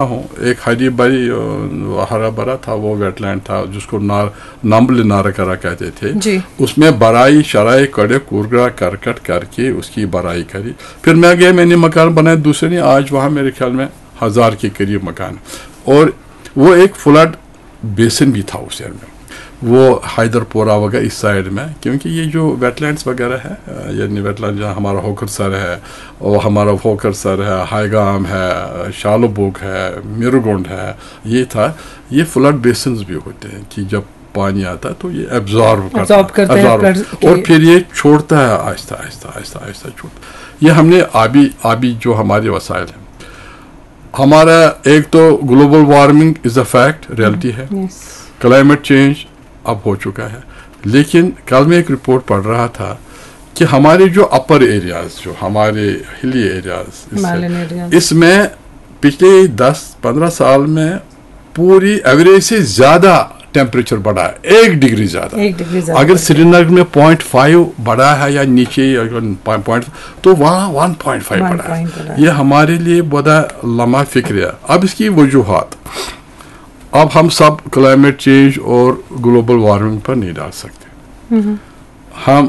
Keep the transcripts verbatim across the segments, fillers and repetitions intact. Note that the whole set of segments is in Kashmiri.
ہوں، ایک ہری بھری، آ، ہرا بھرا تھا، وہ ویٹ لینڈ تھا، جس کو نار نمبل نارا کرا کہتے تھے۔ جی۔ اس میں برائی شرائی کڑے کورگرا کرکٹ کر کے اس کی برائی کری۔ پھر میں گیا، میں نے مکان بنائے دوسرے نے، آج وہاں میرے خیال میں ہزار کے قریب مکان، اور وہ ایک فلڈ بیسن بھی تھا اس ایریا میں۔ وہ حیدر پورہ وغیرہ اس سائیڈ میں، کیونکہ یہ جو ویٹ لینڈز وغیرہ ہے، آ، یعنی ویٹ لینڈ جہاں ہمارا ہوکر سر ہے، اور ہمارا ہوکر سر ہے، ہائیگام ہے، شالوبوگ ہے، میرگونڈ ہے، یہ تھا۔ یہ فلڈ بیسنز بھی ہوتے ہیں کہ جب پانی آتا ہے تو یہ ایبزارب کرتا Absorb کرتے ہیں، absorb۔ floods کے۔ اور پھر یہ چھوڑتا ہے آہستہ آہستہ آہستہ آہستہ چھوڑتا۔ یہ ہم نے آبی آبی جو ہمارے وسائل ہیں، ہمارا ایک تو global warming is a fact, reality ہے، یس۔ کلائمیٹ چینج اب ہو چکا ہے، لیکن کل میں ایک رپورٹ پڑھ رہا تھا کہ ہمارے جو اپر ایریاز، جو ہمارے ہلی ایریاز، ہمالین ایریاز۔ اس میں پچھلے دس پندرہ سال میں پوری ایوریج سے زیادہ ٹیمپریچر بڑھا ہے، ایک ڈگری زیادہ۔ ایک ڈگری زیادہ اگر بڑھا ہے۔ سری نگر میں پوائنٹ فائیو بڑھا ہے یا نیچے، پوائنٹ، تو وہاں ون پوائنٹ فائیو ون بڑھا ہے۔ پوائنٹ بڑھا ہے۔ یہ ہمارے لیے بڑا لمحہ فکر ہے۔ اب اس کی وجوہات، اب ہم سب کلائمیٹ چینج اور گلوبل وارمنگ پر نہیں ڈال سکتے۔ ہم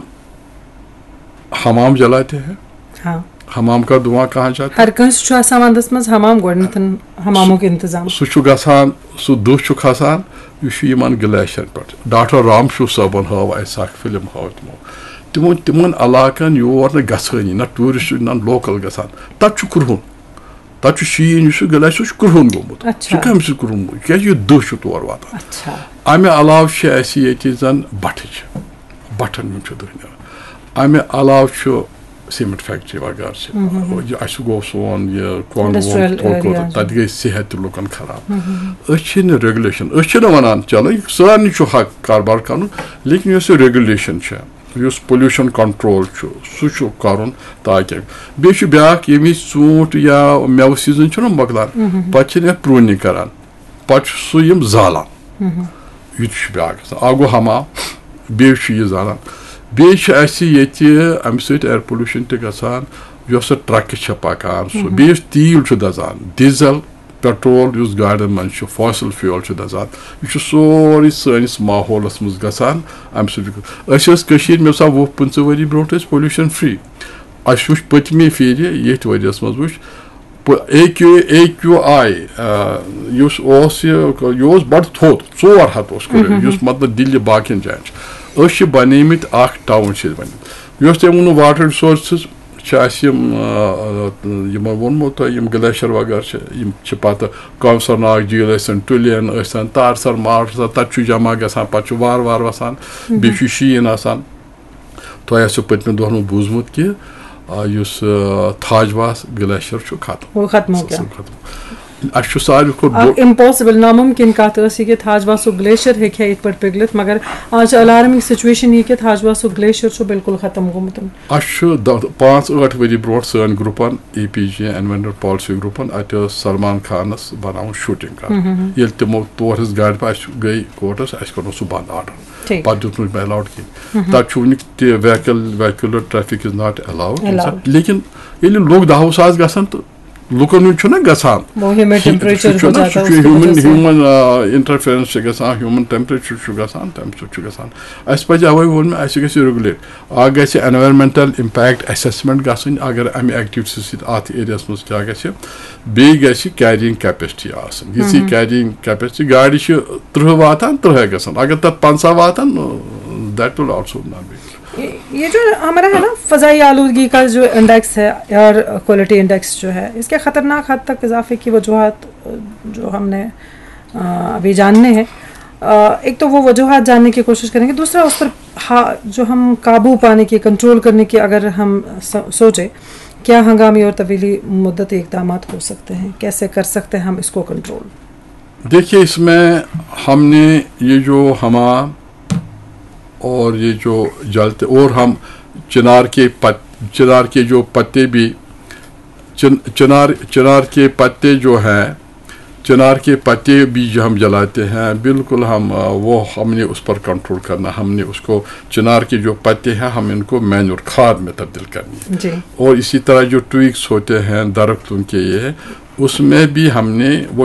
حمام جلاتے ہیں، ہاں۔ حمام کا دھواں کہاں جاتا ہے؟ ہر کٲنٛسہِ چھُ آسان ونٛدس منٛز حمام، گۄڈٕنیتھن حمامُک انتظام۔ سُہ چھُ گژھان، سُہ دُہ چھُ کھسان، یہِ چھُ یِمن گلیشرن پٮ۪ٹھ۔ ڈاکٹر رام شو صٲبن ہٲو اَسہِ اکھ فلم، ہٲو تِمو۔ تِمو، تِمن علاقن یور نہٕ گژھٲنی، نہ ٹوٗرسٹ، نہ لوکل گژھان، تتہِ چھُ کرٛہُن۔ تتہِ چھُ شیٖن، یُس چھُ گلیشر، سُہ چھُ کرٛہُن گوٚمُت۔ اچھا۔ سُہ کمہِ سۭتۍ کرٛہُن گوٚمُت؟ کیازِ یہِ دُہ چھُ تور واتان۔ اچھا۔ امہِ علاوٕ چھِ اَسہِ ییٚتہِ زن بٹھٕ چھِ، بٹھن ہُنٛد چھُ دُہ نیران۔ امہِ علاوٕ چھُ سیمنٹ فیکٹری وغٲرٕ چھِ۔ یہِ اَسہِ گوٚو سون یہِ کۄنٛگ وۄنٛگ Industrial تھوٚو کوٚر، area۔ تَتہِ گٔے صحت تہِ لُکن خراب۔ أسۍ چھِ نہٕ ریگولیشن، أسۍ چھِ نہٕ وَنان چلو یہِ سارنٕے چھُ حق کاربار کَرُن، لیکن یۄس یہِ ریگولیشن چھےٚ، یُس پولیوشن کنٹرول چھُ، سُہ چھُ کَرُن تاکہِ۔ بیٚیہِ چھُ بیٛاکھ، ییٚمہِ وِزِ ژوٗنٛٹھ یا مٮ۪وٕ سیٖزن چھُنہ مۄکلان، پتہٕ چھِنہٕ یَتھ پرٛوٗنِنٛگ کَران، پتہٕ چھُ سُہ یِم زالان۔ یہِ تہِ چھُ بیٛاکھ گژھان۔ اَکھ گوٚو حمام، بیٚیہِ چھُ یہِ زالان۔ بیٚیہِ چھِ اَسہِ ییٚتہِ اَمہِ سۭتۍ ایئر پولیوشن تہِ گژھان، یۄس سۄ ٹرکہٕ چھےٚ پکان، سُہ بیٚیہِ یُس تیٖل چھُ دَزان، ڈیٖزل، پیٹرول یُس گاڑٮ۪ن منٛز چھُ، فاسل فیول چھُ دَزان، یہِ چھُ سورُے سٲنِس ماحولس منٛز گژھان۔ اَمہِ سۭتۍ چھُ، أسۍ ٲسۍ کٔشیٖرِ، مےٚ باسان، وُہ پٕنٛژٕہ ؤری برونٛٹھ ٲسۍ پولیوشن فری۔ اَسہِ وُچھ پٔتمہِ پھِرِ، ییٚتھۍ ؤریَس منٛز وُچھ، A Q A Q I, یُس اوس یہِ، یہِ اوس بڑٕ تھوٚد، ژور ہتھ اوس کٔرِتھ، یُس مطلب دِلہِ باقین جاین چھُ۔ أسۍ چھِ بنیمٕتۍ اکھ ٹاوُن چھِ أسۍ بنیمٕتۍ۔ یۄس تۄہہِ ووٚنوُ واٹر رِسورسز چھِ اَسہِ یِم، آ، آ، یِمو ووٚنمو تۄہہِ، یِم گلیشر وغٲرٕ چھِ، یِم چھِ پتہٕ کونسر ناگ جھیل ٲسِن، ٹُلین ٲسِن، تارسر مارسر، تتہِ چھُ جمع گژھان، پتہٕ چھُ وارٕ وارٕ وسان، بیٚیہِ چھُ شیٖن آسان۔ تۄہہِ آسیو پٔتمٮ۪ن دۄہن منٛز بوٗزمُت کہِ، آ، یُس، آ، تھاج واس گلیشر چھُ ختم۔ وہ ختم ہو گیا۔ سُہ ختم۔ اَسہِ چھُ ساروی کھۄتہٕ اکھ بوٚڑ امپاسبل، ناممکن کتھ ٲس یہِ کہِ تھاج واسُک گلیشر ہیٚکہِ ہا یِتھ پٲٹھۍ پِگلِتھ، مگر آز چھِ الارمنگ سچویشن یہِ کہِ تھاج واسُک گلیشر چھُ بالکل ختم گوٚمُت۔ اَسہِ چھُ دَہ، پانٛژھ ٲٹھ ؤری برونٛٹھ سٲنۍ گروپن، اے پی جی، انوائرنمنٹل پالیسی گروپن، اَتہِ ٲس سلمان خانس بناوُن شوٹنگ کرُن۔ ییٚلہِ تِمو تور ہٕنٛز گاڑِ پہ-، اَسہِ گٔے کورٹس، اَسہِ کوٚرنوو سُہ بنٛد آرڈر۔ ٹھیٖک۔ پتہٕ دیُت نہٕ مےٚ الاؤڈ کینٛہہ۔ تَتہِ چھُ وٕنیُک تہِ vehicle, vehicular traffic is not allowed. Allowed۔ لیکن ییٚلہِ لُکھ دَہ وُہ ساس گژھن تہٕ لُکن ہُنٛد چھُنہ گژھان۔ وہ ہیومن ٹیمپریچر سُہ چھُنہ، ہو جاتا سُہ ہے، چھُ اس کی ہیومن، وجہ سے۔ ہیومن، آ، انٹرفیرنس چھِ گژھان، ہیومن ٹیمپریچر چھُ گژھان، تَمہِ سۭتۍ چھُ گژھان۔ اَسہِ پَزِ اَوَے ووٚن مےٚ، اَسہِ گژھِ ریگولیٹ۔ اَکھ گژھِ انوائرمنٹل امپیکٹ اسیسمنٹ گژھٕنۍ، اگر اَمہِ ایکٹیویٹی سۭتۍ اَتھ ایریاہَس منٛز کیٛاہ گژھِ۔ بیٚیہِ گژھِ کیرینگ کیپیسٹی آسٕنۍ۔ یِژھ کیرینگ کیپیسٹی، گاڑِ چھِ ترٕٛہ واتان، ترٕٛہے گژھن۔ اگر تَتھ پنٛژاہ واتان، that will also not be good۔ یہ یہ جو ہمارا ہے نا، فضائی آلودگی کا جو انڈیکس ہے، ایئر کوالٹی انڈیکس جو ہے، اس کے خطرناک حد تک اضافے کی وجوہات، آ، جو ہم نے، آ، ابھی جاننے ہیں۔ آ، ایک تو وہ وجوہات جاننے کی کوشش کریں گے، دوسرا اس پر ہا-، جو ہم قابو پانے کی، کنٹرول کرنے کی اگر ہم سو-، سوچیں، کیا ہنگامی اور طویلی مدتی اقدامات ہو سکتے ہیں، کیسے کر سکتے ہیں ہم اس کو کنٹرول؟ دیکھیے، اس میں ہم نے یہ جو حمام اور یہ جو جلتے، اور ہم چنار کے پت-، چنار کے جو پتے بھی، چن-، چنار، چنار کے پتے جو ہیں، چنار کے پتے بھی جو ہم جلاتے ہیں، بالکل ہم، آ، وہ ہم نے اس پر کنٹرول کرنا، ہم نے اس کو، چنار کے جو پتے ہیں، ہم ان کو مینور کھاد میں تبدیل کرنی ہے۔ جی۔ اور اسی طرح جو ٹویگز ہوتے ہیں درختوں کے، یہ उसमें भी हमने वो